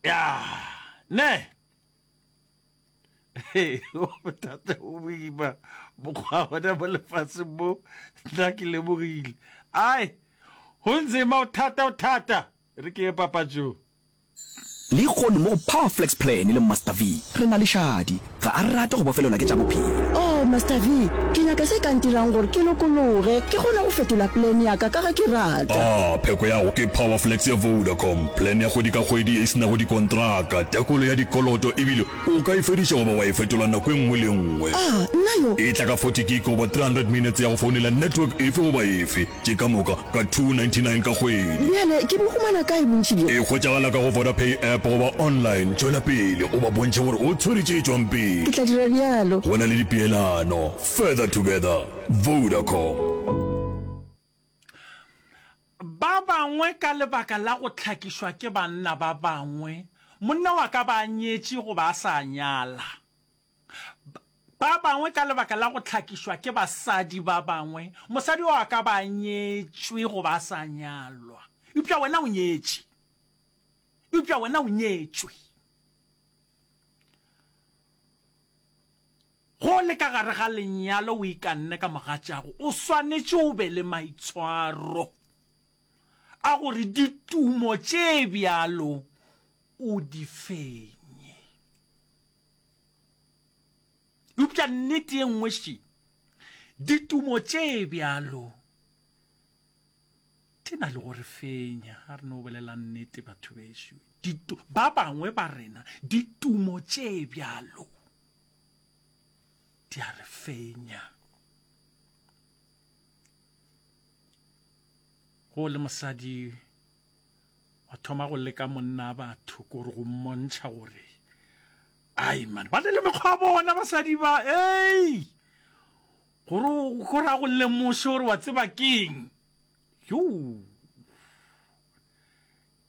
Ya, ne. Bothata bo boima mokgwa gona mo lefaseng mo nna ke lemogile. Ai, go nzima o thata o thata. Re ke ye papatšong. Lehono mo go Power Flex Plan le Master V, re na le Shadi. Ga a rate go bofelelwa ke tša bophelo. Oh, Master V, ke nyaka se ka ntirang gore ke lokologe, ke kgone go fetola plan ya ka ka ge ke rata. Ah, pheko ya go ke Power Flex ya Vodacom, plan ya kgwedi ka kgwedi ye e se nago dikontraka, tekolo ya dikoloto ebile o ka e fediša goba wa e fetola nako e nngwe le e nngwe. Ah, nna yo! E tla ka 40 gig goba 300 minutes ya go founela network efe goba efe. Tše ka moka ka 299 ka kgwedi. Bjale ke bo humana kae bontši bjo? E hwetšagala ka go Vodapay app goba online. Tšwela pele o ba bontšhe gore o tshwere tše tšwang pele. Ke tla dira bjalo. Go na le dipeelano. Further together. Vodacom. Ba bangwe ka lebaka la go hlakišwa ke banna ba bangwe, monna wa ka ba a nyetše goba a sa nyala. Ba bangwe ka lebaka la go hlakišwa ke basadi ba bangwe, mosadi o a ka ba a nyetšwe goba a sa nyalwa. Eupša wena o nyetše. Eupša wena o nyetšwe. Go le ka gare ga lenyalo o ikanne ka mogatšago, o swanetše o be le maitshwaro a gore ditumo tše bjalo o di fenye. Eupša nnete ye nngwe še, ditumo tše bjalo di na le go re fenya. A re no bolela nnete batho bešo. Ba bangwe ba rena ditumo tše bjalo di a re fenya. Go le mosadi wa thoma go leka monna batho kore go mmontšha gore ai man ba ne le mekgwa bona basadi ba ei gore go ra go lemoše gore wa tseba keng yo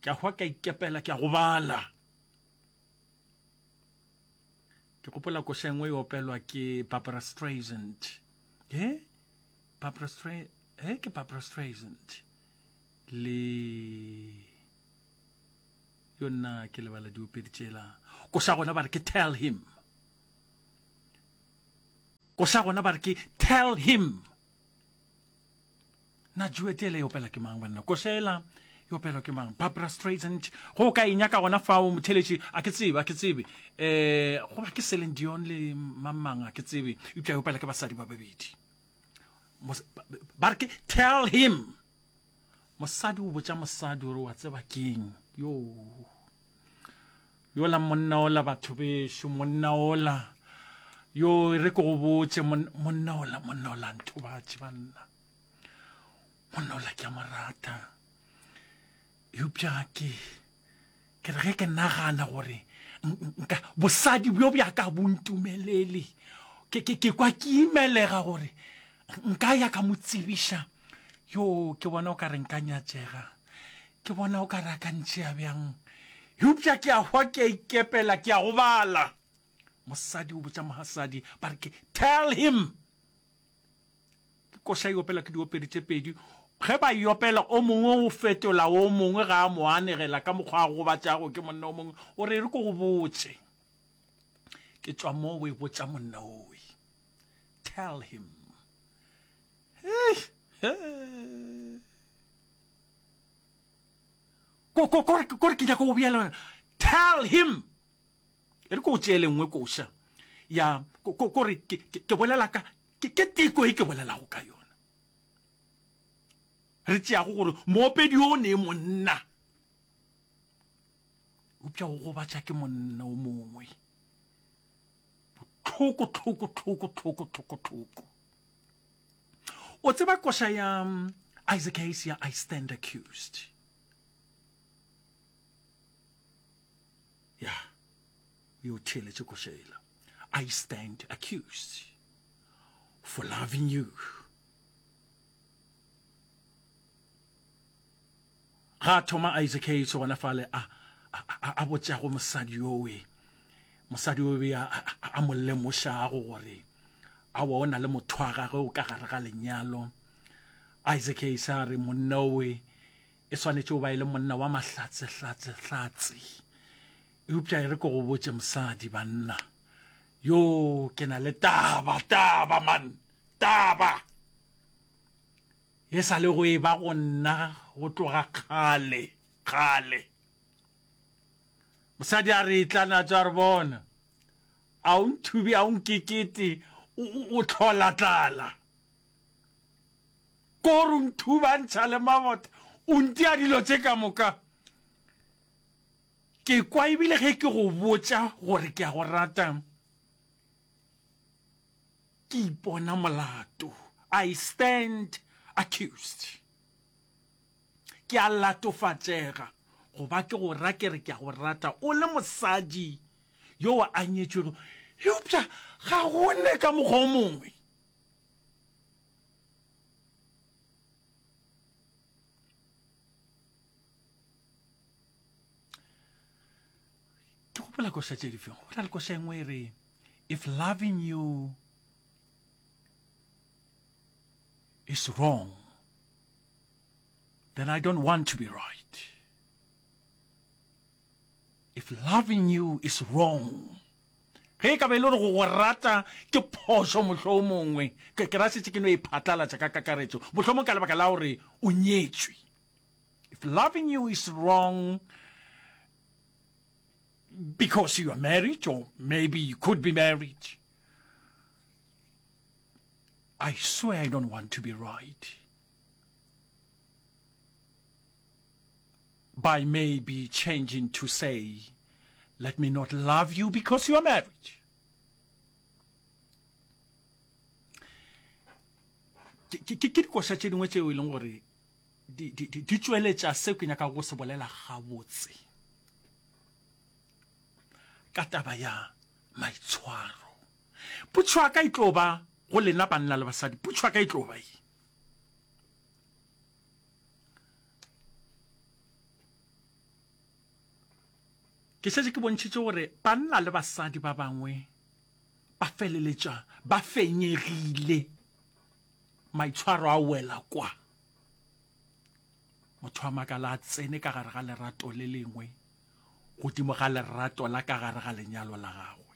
ke a hwa ka ikepela ke a gobala ke gopola koša engwe e opelwa ke Barbara Streisand e Barbara Streisand e ke Barbara Streisand le yo nna ke lebala diopedi tšela koša gona ba re ke tell him koša gona ba re ke tell him na juete ele e opela ke mang banna koša ela e opelwa ke mang barbara streisand go ka e nyaka gona fao motheletši a ke tsebe a ke tsebe um goba ke selin dion le mamang a ke tsebe eupša e opela ke basadi ba babedi ba re ke tell him Mosadi o botša mosadi gore wa tseba keng yo yola monna ola batho bešo monna ola yo re ke go botše monna ola monna ola nthobatše banna monna ola ke a mo rata eupša ke Ke re ge ke nagana gore nka bosadi bjo bja ka bo ntumelele, ke, ke, ke kwa ke imelega gore nka ya ka mo tsebiša. Yo, ke bona o ka re nka nyatšega. Ke bona o ka re a ka ntšea bjang. Eupša ke a hwa ke a ikepela, ke a gobala. Mosadi o botša mohasadi, ba re ke tell him. Ke koša e opelwa ke diopedi tše pedi. Ge ba e opela, o mongwe o fetola o mongwe ga a mo anegela ka mokgwa a gobatšago ke monna o mongwe. O re, E re ke go botše. Ke tšwa mo o e botša monna owe. Tell him. Hey, hey. Ko, ko, ko, ko re ke nyaka go bolela. Tell him. E re ke o tšeele nngwe koša ya, ko, ko, ko re ke, ke, ke bolela ka, Ke, ke teko e ke bolelago ka yona. Re tšeago gore moopedi yo ne monna, eupša o gobatša ke monna o mongwe. Bohloko, hloko, hloko, hloko, hloko, hloko. O tseba koša ya um, Isaac Hayes ya I Stand Accused. Ya, yo theeletše koša ela. I stand accused for loving you. Ga thoma Isaac Hayes gona fale a a a botšago mosadi yowe mosadi yowe a a mo lemošago gore awa o na le motho wa gagwe o ka gare ga lenyalo. Isaac Hayes a re monna owe e swanetše o ba e le monna wa mahlatse hlatse hlatse. Eupša e re ke go botše mosadi, banna, yo ke na le taba, taba man, taba e sa le go e ba go nna go tloga kgale, kgale. Mosadi a re etla na tšwa re bona, a o nthubi, a o nkekete, o, o hlola tlala. Ko re o nthuba ntšha le mabota, o ntia dilo tše ka moka. Ke kwa ebile ge ke go botša gore ke a go rata, ke ipona molato. I stand accused. Ke a latofatšega go ba ke go ra ke re ke a go rata o le mosadi yo a nyetšwego, eupša ga go ne ka mokgwa o mongwe. Ke gopola koša tše difeng? Go na le koša e nngwe e re, If loving you is wrong, then I don't want to be right. If loving you is wrong, ge e ka ba e le gore go go rata ke phošo mohlomongwe, ke ke ra šetše ke no e phatlalatša ka kakaretšo, mohlomong ka lebaka la gore o nyetšwe. If loving you is wrong because you are married or maybe you could be married, I swear I don't want to be right. By maybe changing to say, let me not love you because you are married. Ke dikoša tše dingwe tšeo e leng gore di, di, di, di tšweletša seo ke nyakago go se bolela gabotse ka taba ya maitshwaro. Potšo ya ka e tlo ba go lena banna le basadi, potšo ya ka e tlo ba ye. Ke šetše ke bontšhitše gore banna le basadi ba bangwe ba feleletša ba fenyegile Maitshwaro a wela kwa. Motho a makala a tsene ka gare ga lerato le lengwe godimo ga lerato la ka gare ga lenyalo la gagwe.